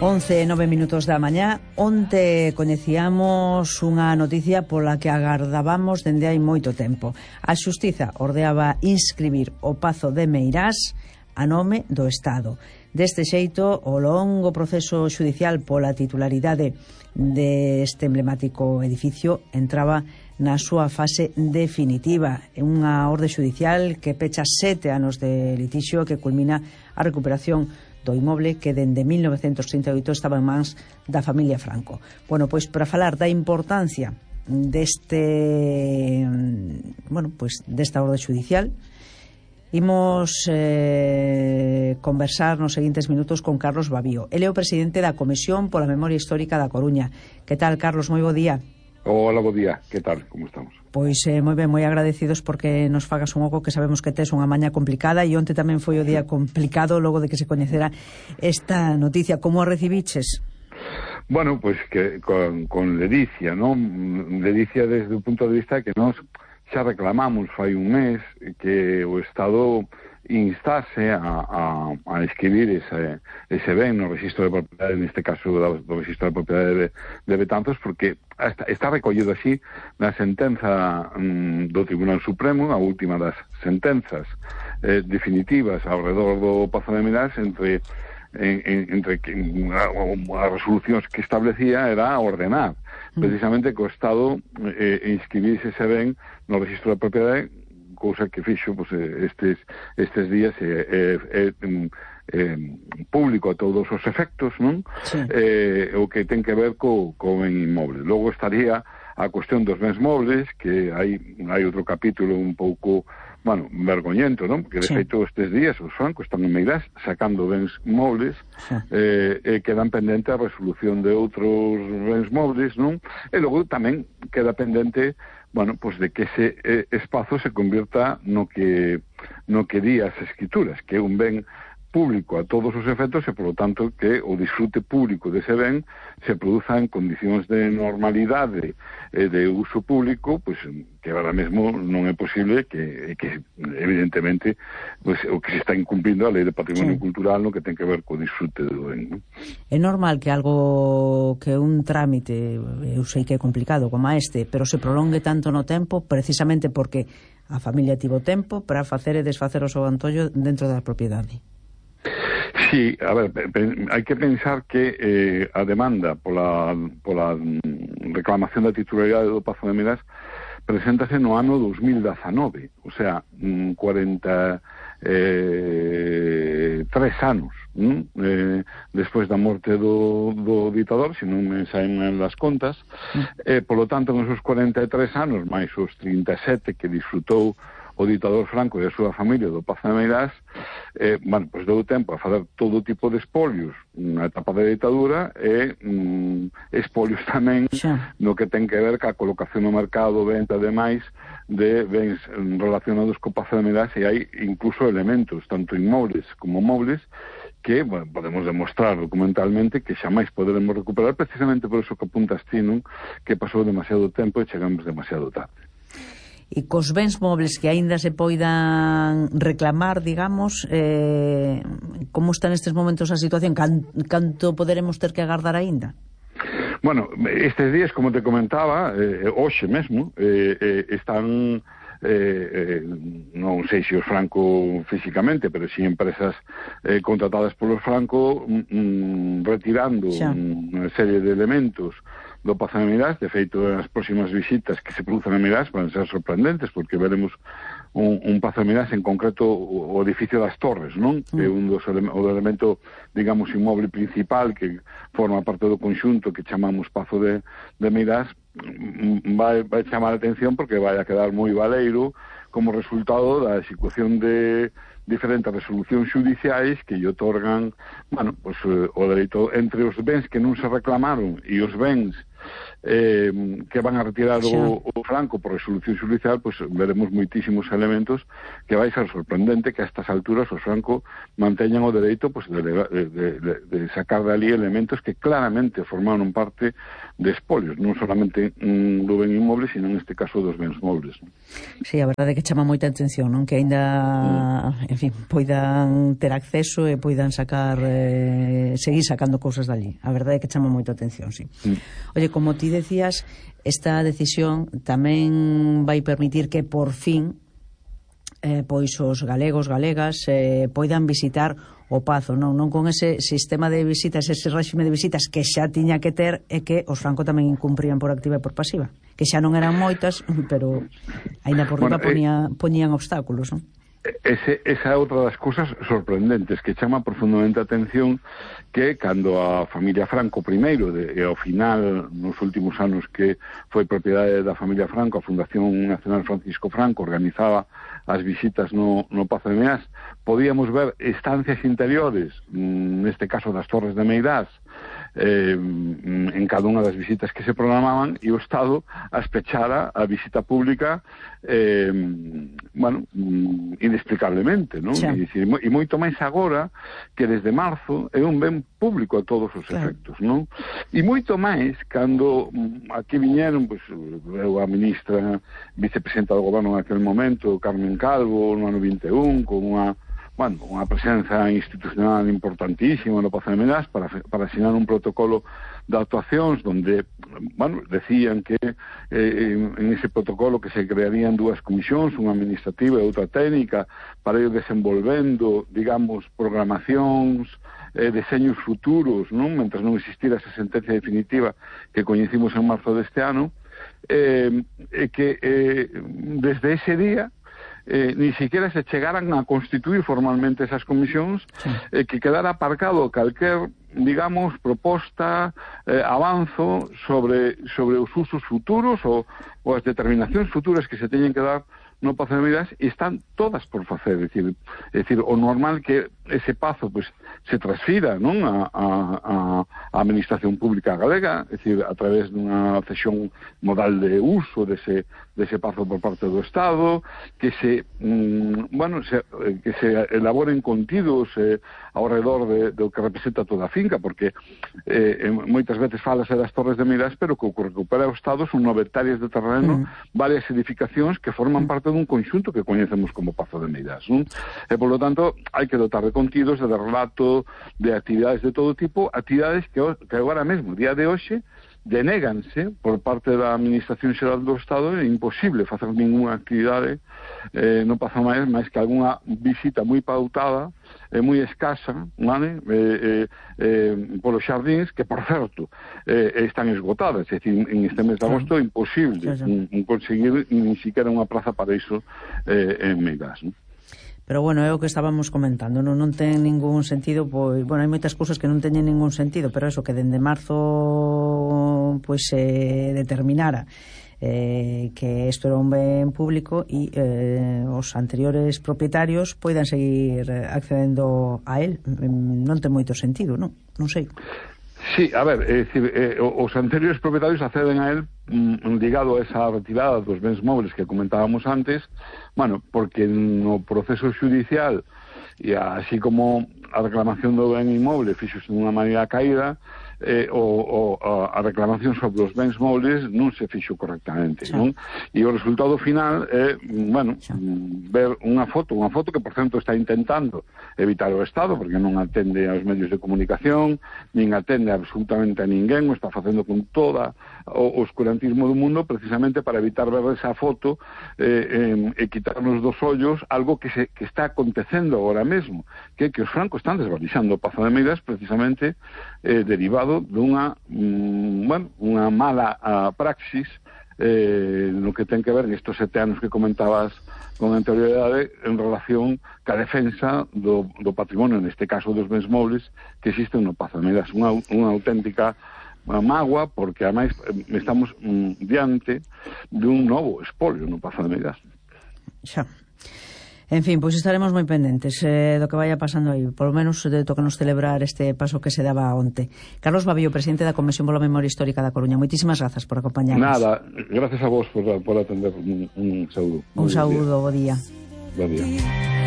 11:09 da mañá. Onte coñecíamos unha noticia pola que agardábamos dende hai moito tempo. A Xustiza ordeaba inscribir o Pazo de Meirás a nome do Estado. Deste xeito, o longo proceso xudicial pola titularidade deste emblemático edificio entraba na súa fase definitiva. É unha orde xudicial que pecha 7 anos de litixio que culmina a recuperación do inmoble que dende 1938 estaba en mans da familia Franco. Bueno, pois para falar da importancia desta orde xudicial, imos conversar nos seguintes minutos con Carlos Babío. Ele é o presidente da Comisión pola Memoria Histórica da Coruña. Que tal, Carlos? Moi bo día. Hola, bo día. Que tal? Como estamos? Pois moi ben, moi agradecidos porque nos fagas un oco, que sabemos que tes unha maña complicada, e onte tamén foi o día complicado logo de que se coñecera esta noticia. Como a recibiches? Bueno, pois que con ledicia, non? Ledicia desde o punto de vista que nós xa reclamamos fai un mes que o Estado instase a escribir ese ben no registro de propiedade, neste caso do registro de propiedade de Betanzos, porque está recollido así na sentenza do Tribunal Supremo, a última das sentenzas definitivas ao redor do Pazo de Meirás, entre as resolucións que establecía era ordenar precisamente que o Estado inscribise ese ben no registro de propiedade, cousa que fixo estes días público a todos os efectos, non? Sí. O que ten que ver co ben inmoble. Logo estaría a cuestión dos bens mobles, que hai outro capítulo un pouco, vergoñento, non? Porque, de feito, estes días os francos están en Meirás sacando bens mobles, e quedan pendente a resolución de outros bens mobles, non? E logo tamén queda pendente, de que ese espazo se convierta no que di as escrituras, que é un ben público a todos os efectos e, polo tanto, que o disfrute público dese ben se produza en condicións de normalidade e de uso público, que agora mesmo non é posible, que evidentemente o que se está incumplindo a Lei de Patrimonio Cultural no que ten que ver co disfrute do ben, non? É normal que algo que un trámite, eu sei que é complicado como este, pero se prolongue tanto no tempo precisamente porque a familia tivo tempo para facer e desfacer o seu antollo dentro da propiedade. Sí, a ver, hai que pensar que a demanda pola reclamación da titularidade do Pazo de Meirás preséntase no ano 2019, o sea, 43 anos despois da morte do ditador, se non me saen as contas, polo tanto, nos 43 anos, máis os 37 que disfrutou o ditador Franco e a súa familia do Pazo de Meirás, deu tempo a fazer todo tipo de espolios na etapa da ditadura e espolios tamén no que ten que ver ca colocación no mercado, venta de máis de bens relacionados co Pazo de Meirás, e hai incluso elementos, tanto inmobles como mobles, que podemos demostrar documentalmente que xa máis poderemos recuperar, precisamente por eso que apuntas ti, non? Que pasou demasiado tempo e chegamos demasiado tarde. E cos bens mobles que aínda se poidan reclamar, digamos, como está nestes momentos a situación? Canto poderemos ter que agardar aínda? Bueno, estes días, como te comentaba, hoxe mesmo, están, non sei se os Franco físicamente, pero si empresas contratadas polos Franco, retirando unha serie de elementos do Pazo de Meirás. De feito, as próximas visitas que se produzan en Meirás van ser sorprendentes, porque veremos un Pazo de Meirás, en concreto o edificio das Torres, non? Que é un dos elemento, digamos, inmoble principal que forma parte do conxunto que chamamos Pazo de Meirás. Vai chamar a atención porque vai a quedar moi baleiro como resultado da execución de diferentes resolucións xudiciais que lle otorgan, o dereito entre os bens que non se reclamaron e os bens que van a retirar o Franco por resolución xudicial, pois veremos moitísimos elementos que vai ser sorprendente que a estas alturas os Franco manteñan o dereito pois, de sacar de ali elementos que claramente formaron parte de espolios, non solamente do ben inmoble, sino neste caso dos bens mobles. Sí, a verdade é que chama moita atención, non? Que aínda, en fin, poidan ter acceso e poidan sacar, seguir sacando cousas dali. A verdade é que chama moita atención, sí. Oye, como ti decías, esta decisión tamén vai permitir que por fin pois os galegos, galegas poidan visitar o Pazo, non con ese sistema de visitas, ese réxime de visitas que xa tiña que ter e que os Franco tamén incumprían por activa e por pasiva, que xa non eran moitas, pero aínda por riba poñían obstáculos, non? Esa é outra das cousas sorprendentes que chama profundamente a atención, que cando a familia Franco primeiro e ao final nos últimos anos que foi propiedade da familia Franco, a Fundación Nacional Francisco Franco organizaba as visitas no Pazo de Meirás, podíamos ver estancias interiores, neste caso das Torres de Meirás, en cada unha das visitas que se programaban, e o Estado as pechara a visita pública inexplicablemente, non? E moito máis agora que desde marzo é un ben público a todos os efectos, non? E moito máis cando aquí viñeron, pois, a ministra vicepresidenta do goberno en aquel momento, Carmen Calvo, no ano 21, con unha presenza institucional importantísima no Pazo de Meirás para asinar un protocolo de actuacións donde, decían que en ese protocolo que se crearían dúas comisións, unha administrativa e outra técnica, para ir desenvolvendo, digamos, programacións, deseños futuros, non? Mentre non existira esa sentencia definitiva que coñecimos en marzo deste ano, que desde ese día ni siquiera se chegaran a constituir formalmente esas comisións, que quedara aparcado calquer, digamos, proposta, avanzo sobre os usos futuros ou as determinacións futuras que se teñen que dar no Pazo de Meirás, e están todas por facer, é dicir, o normal que ese pazo pois se transfira, non, a administración pública galega, é dicir, a través dunha cesión modal de uso dese pazo por parte do Estado, que se elaboren contidos ao redor do que representa toda a finca, porque moitas veces falase das Torres de Meirás, pero que o que recupera o Estado son 9 hectáreas de terreno, varias edificacións que forman parte dun conxunto que coñecemos como Pazo de Meirás, non? E, polo tanto, hai que dotar de contidos, de relato, de actividades de todo tipo, actividades que agora mesmo, día de hoxe, denéganse por parte da Administración Xeral do Estado. É imposible facer ninguna actividade no Pazo de Meirás, máis que algunha visita moi pautada, moi escasa, vale? Polos xardíns, que, por certo, están esgotadas. É dicir, en este mes de agosto é imposible conseguir ni siquiera unha praza para iso en Meirás, non? Pero, bueno, é o que estábamos comentando, non ten ningún sentido, pois, bueno, hai moitas cousas que non teñen ningún sentido, pero eso, que dende marzo, pois, se determinara que isto era un ben público e os anteriores propietarios poidan seguir accedendo a él, non ten moito sentido, non sei. Sí, a ver, é dicir, os anteriores propietarios acceden a él ligado a esa retirada dos bens móveis que comentábamos antes, porque no proceso xudicial e así como a reclamación do ben inmoble fixose dunha maneira caída, a reclamación sobre os bens móveis non se fixo correctamente, non? E o resultado final é, ver unha foto que, por certo, está intentando evitar o Estado, porque non atende aos medios de comunicación, nin atende absolutamente a ninguén, o está facendo con toda o oscurantismo do mundo, precisamente para evitar ver esa foto e quitarnos dos ollos algo que está acontecendo agora mesmo, que os Franco están desvalixando o Pazo de Meirás, precisamente derivado dunha unha mala praxis no que ten que ver nestos 7 anos que comentabas con anterioridade en relación ca defensa do patrimonio, neste caso dos bens móveis que existen no Pazo de Meirás. Unha auténtica mágoa, porque ademais estamos diante dun novo espolio no Pazo de Meirás. Xa. En fin, pois estaremos moi pendentes do que vaya pasando aí, polo menos tócanos celebrar este paso que se daba onte. Carlos Babillo, presidente da Comisión pola Memoria Histórica da Coruña, moitísimas grazas por acompañarnos. Nada, gracias a vos por atender. Un saúdo. Un saúdo, bo día. Bo día.